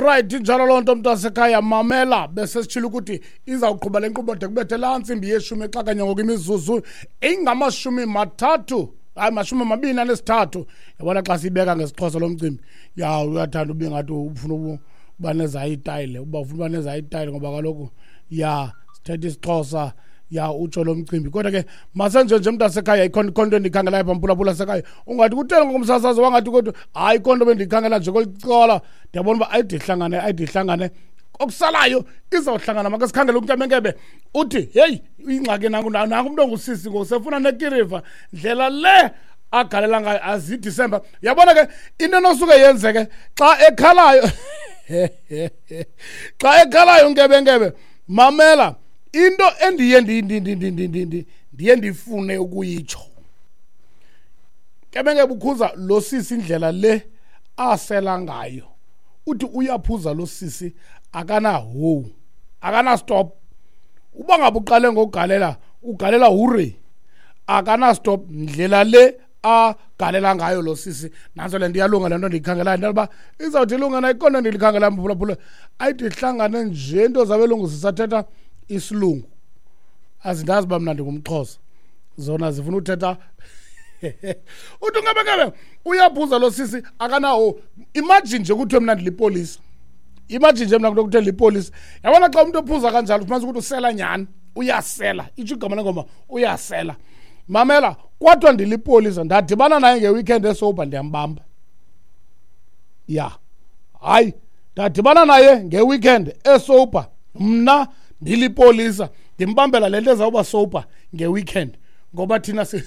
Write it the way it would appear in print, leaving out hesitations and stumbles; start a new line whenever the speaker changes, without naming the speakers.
Alright, injalo loo nto, mntasekhaya. Mamela, besesitshilo ukuthi izawuqhuba le nkqubo de kubethe laa ntsimbi yeshumi exakanye ngoku imizuzu ingama-30, hayi, 23. Yabona, xa siyibeka ngesiXhosa lo mcimbi, ya, uyathanda ube ngathi ufuna uba nezayitayile, uba ufuna uba nezayitayile, ngoba kaloku, ya, sithetha isiXhosa, ya, utsho lo mcimbi. Kodwa ke masenje nje, mntasekhaya, ikhona ikhona into endiyikhangelayo pha, mphulaphula sekhaya. Ungathi kutheni ngokumsasazo, wangathi kodwa hayi, ikhona into bendiyikhangela nje kweli cala. Ndiyabona uba ayide ihlangane, ayide ihlangane, okusalayo izawuhlangana. Make sikhangele unkebenkebe. Uthi heyi, ingxaki nanku, nanku umntu ongusisi ngoku sefuna nekiriva, ndlela le agalela ngayo azidisemba. Yabona ke, into enosuke yenzeke xa ekhalayo, xa ekhalayo unkebenkebe, mamela, into endiye ndiye ndifune ukuyitsho, nkebenkebe ukhuza lo sisi indlela le asela ngayo. Uthi uyaphuza lo sisi, akanaho, akana-stop. Uba ngabe uqale ngokugalela, ugalela hure, akana-stop, ndlela le agalela ngayo lo sisi. Nantso le nto, iyalunga le nto ndiyikhangelayo, into yoba izawuthi ilunga na. Ikhona ndilikhangela, mphulaphula, ayithi ihlangane nje into zabelungu zisathetha isilungu. Azindazi uba mna ndingumXhosa, zona zifuna uthetha. Uthi ungebekebe uyaphuza lo sisi, akanawo. Imagine nje kuthiwe mna ndilipolisa, imagine nje mna kuthiwe lipolisa. Yabona, xa umntu ophuza kanjalo, ufumanisa ukuthi usela nyhani, uyasela, itsho igama lengoma, uyasela. Mamela, kwathiwa ndilipolisa, ndadibana naye nge-weekend e-sober, ndiyambamba. Ya, hayi, ndadibana naye nge-weekend e-sober, mna ndilipolisa, ndimbambela le nto ezawuba sober nge-weekend, ngoba thina si